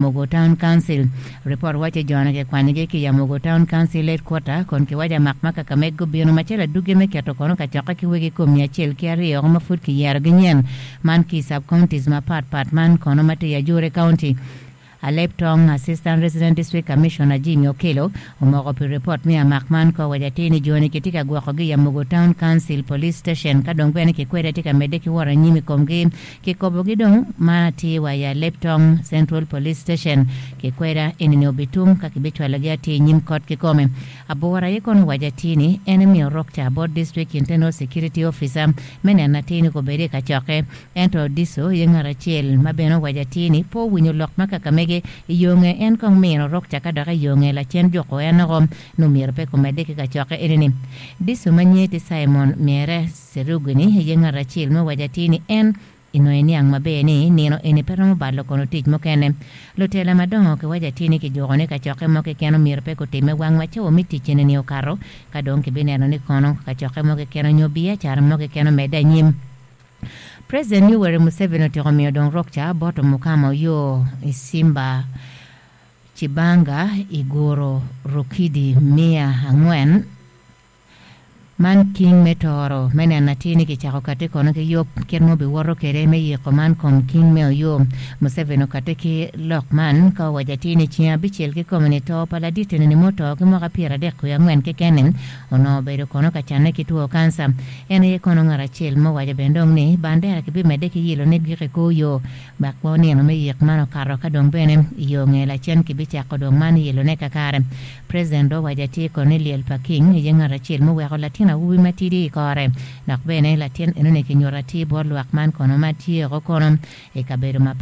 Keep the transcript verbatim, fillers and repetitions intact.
Mogo Town Council. Report wacho jona ke kwanyogi ki ya Mogo Town Council headquarter kon kiwaco amak ma Kakamega gubino macalo adwogi me keto kono kacokke ki wegi kom mia acel ki aryo ma pud kiyerogi nyen man ki sub counties mapatpat man kono ma tye i Ajure County. Alep Tong Assistant Resident District Commissioner Jimmy Okello omoko pi report me amak man ka owaco atir ni joni kitye ka gwokogi i Amogo Town Council Police Station ka dong bene kikwede tye ka medde ki wot anyim i komgi kikobogi dong ma tye wa i Alep Tong Central Police Station kikweda enini obitum ka kibicwalogi atir i nyim kot kikome. Abora aye kono owaco atir ni en emiyo rokca bot District Internal Security Officer me neno atir ni kobedi i kacokke ento DISO ye ngat acel ma bene owaco atir ni pe owinyo lok ma Kakamege i yo nge en kong mino rokca ka dok i yo nge lacen juko en oko ni myero pe komedde ki kacokke enini. DISO ma nyinge tye Simon Miere Serugini ye ngat acel ma owaco atir ni en inongo iniang maber ni nino eni pe romo balo kono tic mukene. Lutela madongo kiwaco atir ni kijuko ni kacokke mo keken omyero pe kutime wang ma cawa me tic eni okato ka dong kibineno ni kono kacokke mo keken onyo biacara mo keken omedde anyim. President Yoweri Museveni otyeko miyo dong rokca bot Mukama Oyo Isimba Cibanga iguro Rukidi mia angwen man king me toro me neno atir ni kicako kati kono ki yub kit ma obiwoto kwede me yiko man kom king me Oyo. Museveni okati ki lok man ka owaco atir ni ceng abicel kikome ni to pa ladit eni muto ki mwaka pyeradek wiye angwen keken onongo obedo kono ka canne ki two kanca. En aye kono ngat acel ma owaco bene dong ni bandera kibimedde ki yilo ne gik i kor yo wek onino me yik man okato ka dong bene i yo nge lacen kibicako dong man yilone kakare. President dong owaco atir kono ni lyel pa king aye ngat acel muweko latin awobi matidi i kore dok bene latin enoni kinyuto atir bot lwak man kono ma tye oko kono i kabedo mapat.